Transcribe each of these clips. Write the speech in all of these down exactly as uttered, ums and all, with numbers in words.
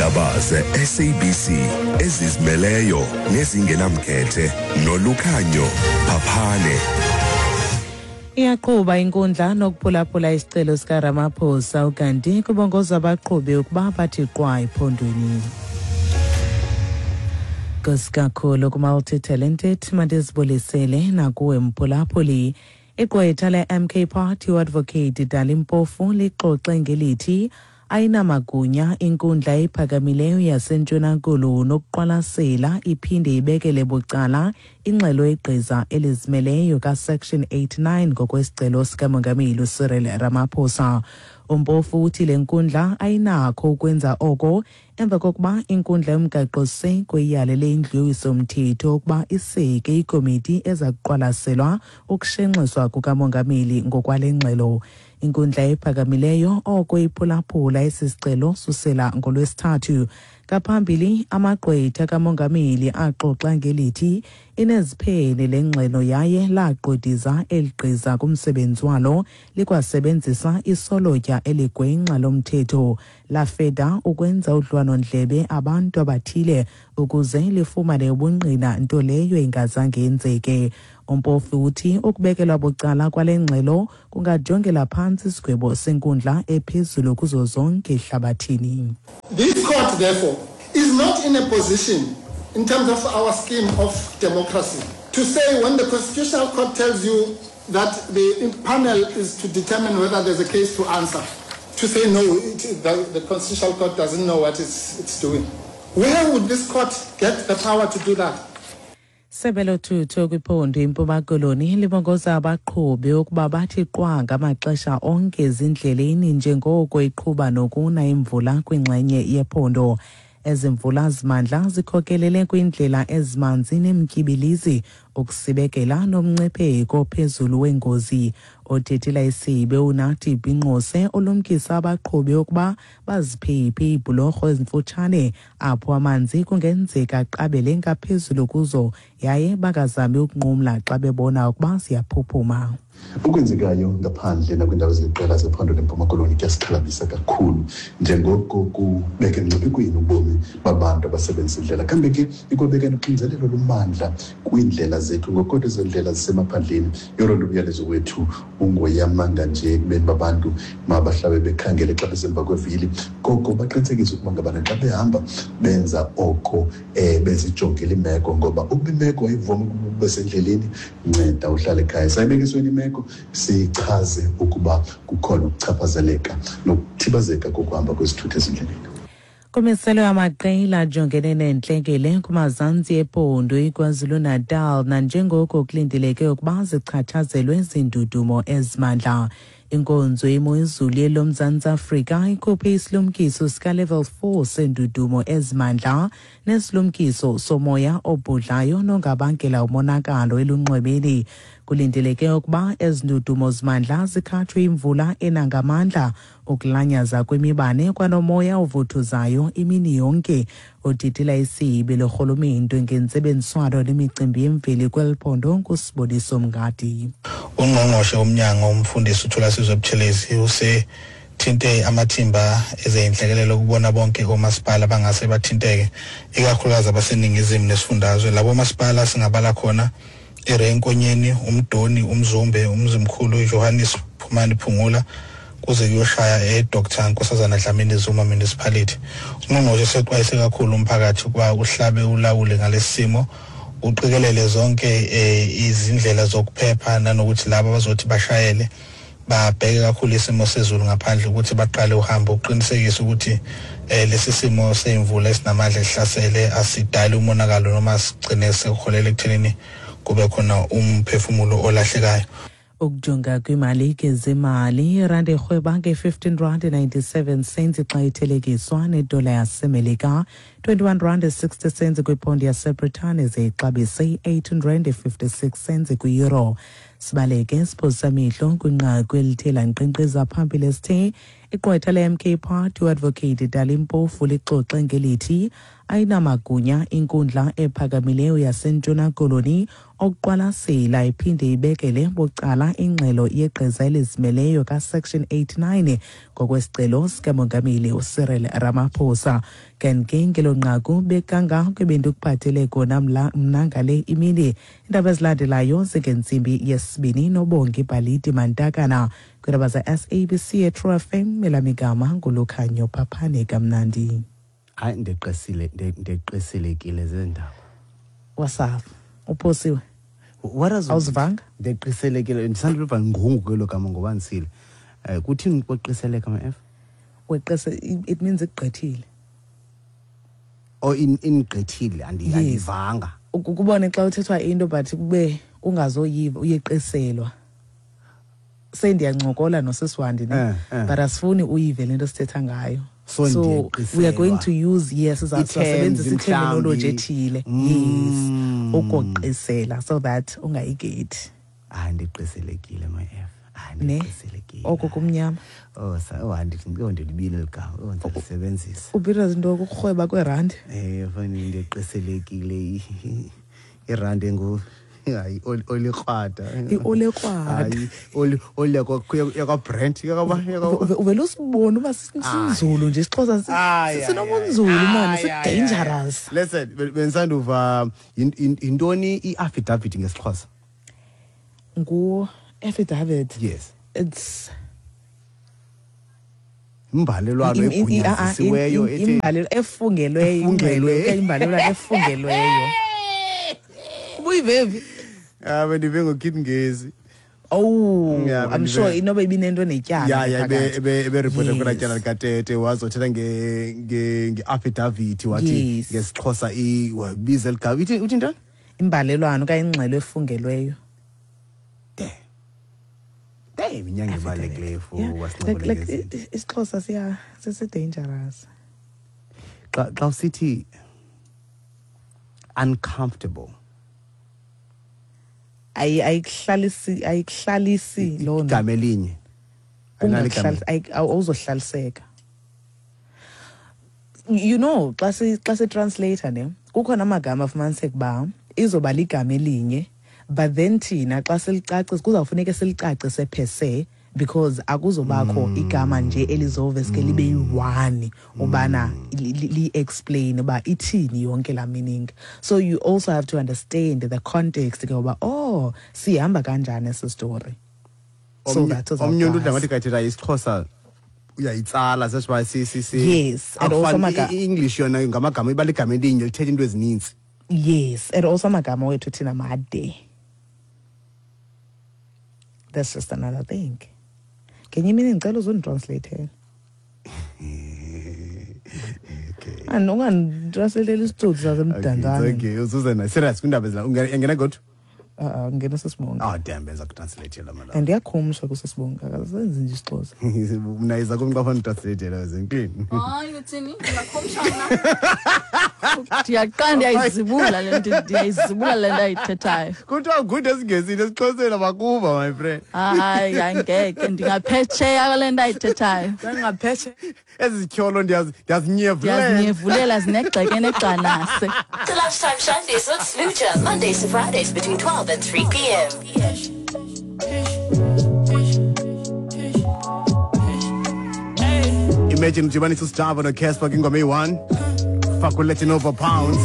Iindaba ze-S A B C ezizimeleyo nezingenamkhethe noLukhanyo Phaphane. Iyaqhuba inkundla nokuphulaphula isicelo sikaRamaphosa, ukanti kubongozwa abaqhubi ukuba bathi qwa ephondweni. Nkosi kakhulu ku-multi-talented, mandizibulisele nakuwe mphulaphuli. Igqwetha le-M K Party, u-Advocate Dali Mpofu, lixoxe ngelithi ayinamagunya inkundla ephakamileyo yaseNtshona Koloni nokuqwalasela iphinde ibekele bucala ingxelo yegqiza elizimeleyo kaSection eighty-nine ngokwesicelo sikaMongameli uCyril Ramaphosa. UMpofu uthi le nkundla ayinakho ukwenza oko emva kokuba inkundla yomgaqo-siseko iyalele indlu yowiso-mthetho ukuba iseke ikomiti eza kuqwalaselwa ukushenxiswa kukamongameli ngokwale ngxelo. Inkundla ephakamileyo oko iphulaphula esi sicelo susela ngoLwesithathu. Ngaphambili, amagqwetha kamongameli axoxa ngelithi ineziphene le ngxelo yaye lagqwediza eli gqiza kumsebenzi walo, likwasebenzisa isolotya eligwenxa lomthetho, lafeda ukwenza udliwano-ndlebe abantu abathile ukuze lifumane ubungqina, nto leyo ingazange yenzeke. UMpofu uthi ukubekelwa bucala kwale ngxelo kungajongela phantsi isigwebo senkundla ephezulu kuzo zonke ehlabathini. This court, therefore, is not in a position, in terms of our scheme of democracy, to say when the Constitutional Court tells you that the panel is to determine whether there's a case to answer, to say no, it, the, the Constitutional Court doesn't know what it's, it's doing. Where would this court get the power to do that? Sebe lothutho kwiphondo iMpuma Koloni libongoza abaqhubi ukuba bathi qwa ngamaxesha onke ezindleleni njengoko iqhuba nokuna imvula kwingxenye yephondo. Ezi mvula zimandla zikhokelele kwiindlela ezimanzi nemtyibilizi, ukusibekela nomngcipheko phezulu wengozi. Othethela isebe uNathi Binqose ulumkisa abaqhubi ukuba baziphephe iibhulorho ezimfutshane apho amanzi kungenzeka aqabele ngaphezulu kuzo, yaye bangazami ukunqumla xa bebona ukuba ziyaphuphuma. Okwenzekayo ngaphandle nakwiindawo eziliqela zephondo leMpuma Koloni kuyasixhalabisa kakhulu njengoko kubeka emngciphekweni ubomi babantu abasebenzisa indlela. Kambe ke ikwabeka noxinzelelo lomandla kwiindlela zethu, ngokodwa ezo ndlela zisemaphandleni. Yolo nto umyalezo wethu ungoyamanga nje ekubeni babantu mabahlabe bekhangele xa besemva kwevili, koko baqinisekise ukuba ngabana xa behamba benza oko um bezijongile imeko, ngoba ukuba imeko ayivumi ukuba ube sendleleni, nceda uhlale ekhaya. Sayibeka esweni imeko, sichaze ukuba kukhona ukuchaphazeleka nokuthibazeka kokuhamba kwezithuthi ezindleleni. Kumiselwe amaqela ajongene neentlekele kumazantsi ephondo iKwaZulu-Natal nanjengoko kulindeleke ukuba zichatshazelwe ziindudumo ezimandla. Inkonzo yemo yezulu yeloMzantsi Afrika ikhuphe isilumkiso sika-level four seendudumo ezimandla nesilumkiso somoya obhudlayo nongabangela umonakalo elunxwemeni. Kulindeleke ukuba ezi ndudumo zimandla zikhatshwe imvula enangamandla, ukulanyaza kwemibane kwanomoya ovuthuzayo imini yonke. Othethela isebe lorhulumente ngentsebenziswano nemicimbi yemveli kweli phondo nguSiboniso Mngadi. Ungqongqoshe womnyango, umfundisi uThulasizwe Buthelezi, usethinte amathimba ezeyinhlekelele ukubona bonke omasipala bangase bathinteke, ikakhulukazi abaseningizimu nesifundazwe. Labo masipala singabala khona iRay Nkonyeni, uMdoni, uMzumbe, uMzimkhulu, Johannes Phumani Phungula, kuze kuyoshaya eDr Nkosazana Dlamini Zuma Municipality. Ungqongqoshe sexwayise kakhulu umphakathi ukuba uhlabe ulawule ngalesi simo, uqikelele zonke eh, izindlela zokuphepha, nanokuthi laba abazothi bashayele babheke kakhulu isimo sezulu ngaphandle ukuthi baqale uhambo, uqinisekise ukuthi eh, lesi simo semvula esinamandla esihlasele asidali umonakalo noma sigcine sekuholela ekuthenini kube khona umphefumulo olahlekayo. Ukujonga kwimali kezemali, irandi irhweba nge-fifteen rand ninety-seven cents xa ithelekiswa nedola yaseMelika, twenty-one rand sixty cents kwiponde yaseBritane, ze ixabise i-eighteen rand fifty-six cents kwi-euro. Sibaleke siphosa amehlo kwinqaku elithe lankqenkqeza phambili esithe igqwetha le-M K Party, u-Advocate Dali Mpofu, lixoxe ngelithi Ayinamagunya inkundla ephakamileyo yaseNtshona Koloni okuqwalasela iphinde ibekele bucala ingxelo yegqiza elizimeleyo kaSection eighty-nine ngokwesicelo sikaMongameli uCyril Ramaphosa. Kanti ngelo nqaku bekangako ebendikuphathele kona mna ngale imini. Iindaba ezilandelayo zingentsimbi yesibini noBongi Bhaliti Mantakana. Kwiindaba ze-S A B C eTrue F M, elamigama nguLukhanyo Phaphane. Kamnandi. Hayi, ndeqesile ndeqiselekile zendaba. Wasafa uphosiwe. What does awuzivanga? Ndeqiselekile ndisanduluva ngungu kwelo gama ngoba ndisile. Eh kuthini kweqiseleka ma F? Weqese it means igqithile. Oh in ingqithile andiyivanga. Ukubone xa uthethwa into but kube ungazoyiva uyeqiselwa. Sendiyancokola nosisiwandi ne eh, eh. But asifuni uyive lento sithetha ngayo. So, so we are going to use yes sisebenzisa terminology ethile. Yes, ukoqisela so that ungayigethi. Ah ndiqiselekile my F. Ah ndiqiselekile. Oko kumnyama. Oh sa oh andithi ndibile ligama. Oh ndisebenzisa. Ubira izinto ukurhweba kwerandi. Eh fani ndiqiselekile irandi engu hayi olikrwada. Iolikrwada. Hayi oli oli yakwa brand yakwa uvela usibona uba sinzulu nje isiXhosa sinobunzulu man, si dangerous. Listen, bensanduva intoni i-affidavit ngesiXhosa? Ngu affidavit. Yes. It's imbalelwano egunyazisiweyo ethi imbalelwano efungelweyo efungelweyo imbalelwano efungelweyo. Ubuyivevi? Ah bendive ngoKit Ngezi. Oh, yeah, I'm sure inoba ibinento netyala. Yeah, yeah, be be reporter kwela tyala likaTete wazothetha nge nge nge-affidavit wathi ngesiXhosa i wabiza ligama. Uthi uthi ntoni? Imbalelwano okanye ingxelo efungelweyo. De. De iminyanga ebalulekileyo for wasincokola ngezinto. IsiXhosa siya sisi dangerous. Xa xa usithi uncomfortable ayi ayikuhlalisi ayikuhlalisi lona igama elinye ungakuhlalisi awuzohlaliseka. You know xa si xa si translator ne kukhona amagama afumaniseka ba izoba ligama elinye but then thina xa silicacisa kuzawufuneka silicacise per se because akuzobakho mm. igama nje elizoveske libe yi-one ubana li explain uba ithini yonke la meaning. So you also have to understand the context ke uba oh sihamba kanjani esi story. So that was omnye umuntu ngathi kathetha isiXhosa uyayitsala sesiba si si si yes and also maga English yona ngamagama iba ligama elinye lithetha into ezininzi. Yes and also amagama wethu thina made. That's just another thing. Ngenye imini ngicela uzonditranslate. Okay. And unganditranslate isitsotsi sasemdantsane. Okay, uzuze na serious kwindaba ezila ungena godwa? Uh uh ngena sisibonga. Oh damn benza kutranslate la mala. And iyakhumsha kusisibonga akasenzi nje isiXhosa. Mina iza kumqa fana translate la zenkini. Hayi uthini? Ngiyakhumsha mina. Ndiyaqala ndiyayizibula le nto ndiyayizibula le nto ayithethayo. Kuthiwa good esiNgesini esiXhoseni abakuva my friend. Hayi angeke ndingaphetsheya le nto ayithethayo. Ndingaphetshe. Ezityholo ndiyazi ndiyazinyevulela. Ndiyazinyevulela zinegxeke negxanase. The Lunchtime Shandies with Sluja, Mondays to Fridays between twelve and three p m. Imagine udibanisa uSjava noCasper kwingoma eyi-one. Fuck with letting over pounds.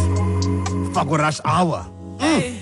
Fuck with rush hour. Mm.